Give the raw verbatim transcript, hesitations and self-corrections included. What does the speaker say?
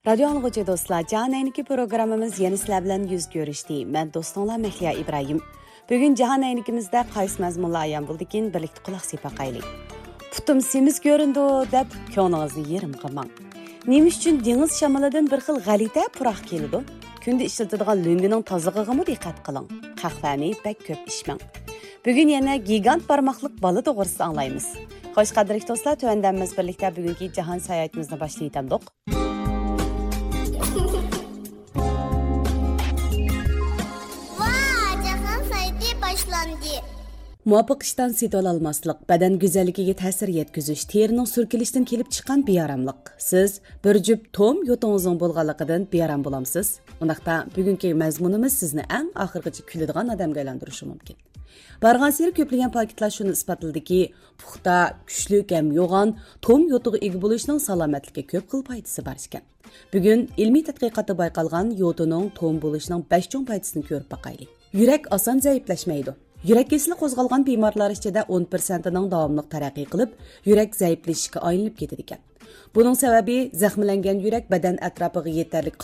رادىيو ئاڭلىغۇچى دوستلار، جاھان ئەينىكى پروگراممىمىز يەنە سىلەر بىلەن يۈز كۆرۈشتى. مەن دوستۇڭلار مەھلىيا ئىبراھىم. بۈگۈن جاھان ئەينىكىمىزدە قايسى مەزمۇنلار ئايان بولدىكىن، بىرلىكتە قۇلاق سېلىپ باقايلى. پۇتۇم سېمىز كۆرۈنىدۇ دەپ، كۆڭلىڭىزنى يېرىم قىلماڭ. نېمە ئۈچۈن دېڭىز شامىلىدىن بىر خىل غەلىتە پۇراق كېلىدۇ؟ كۈندە ئىشلىتىدىغان لۆڭگىنىڭ تازىلىقىغىمۇ دىققەت قىلىڭ. قەھۋەنى بەك كۆپ ئىچمەڭ. بۈگۈن يەنە گىگانت بارماقلىق بالا توغرىسىدا ئاڭلايمىز. خوش، قەدىرلىك دوستلار، تۆۋەندە بىز بىرلىكتە بۈگۈنكى جاھان ساياھىتىمىزنى باشلاۋېتەمدۇق. ۋا، جاھان سايتى باشلاندى. مۇۋاپىق ئىشتان سېتىۋالالماسلىق، بەدەن گۈزەللىكىگە تەسىر يەتكۈزۈش، تېرىنىڭ سۈركىلىشىدىن كېلىپ چىققان بىئاراملىق. سىز بىر جۈپ توم يوتىڭىزنىڭ بولغانلىقىدىن بىئارام بولامسىز؟ ئۇنداقتا بۈگۈنكى مەزمۇنىمىز سىزنى ئەڭ ئاخىرغىچە كۈلىدىغان ئادەمگە ئايلاندۇرۇشى مۇمكىن. بارغانسېرى كۆپلىگەن پاكىتلار شۇنى ئىسپاتلىدىكى، پۇختا، كۈچلۈك ھەم يوغان توم يوتىغا ئىگە بولۇشنىڭ سالامەتلىككە كۆپ خىل پايدىسى بار ئىكەن. بۈگۈن ئىلمىي تەتقىقاتتا بايقالغان يوتىنىڭ توم بولۇشنىڭ بەش چوڭ پايدىسىنى كۆرۈپ باقايلى. يۈرەك ئاسان زەئىپلەشمەيدۇ. يۈرەك كېسىلى قوزغالغان بىمارلار ئىچىدە ئون پىرسەنتىنىڭ داۋاملىق تەرەققىي قىلىپ، يۈرەك زەئىپلىشىشكە ئايلىنىپ كېتىدىكەن. بۇنىڭ سەۋەبى، زەخىملەنگەن يۈرەك بەدەن ئەتراپىغا يېتەرلىك قان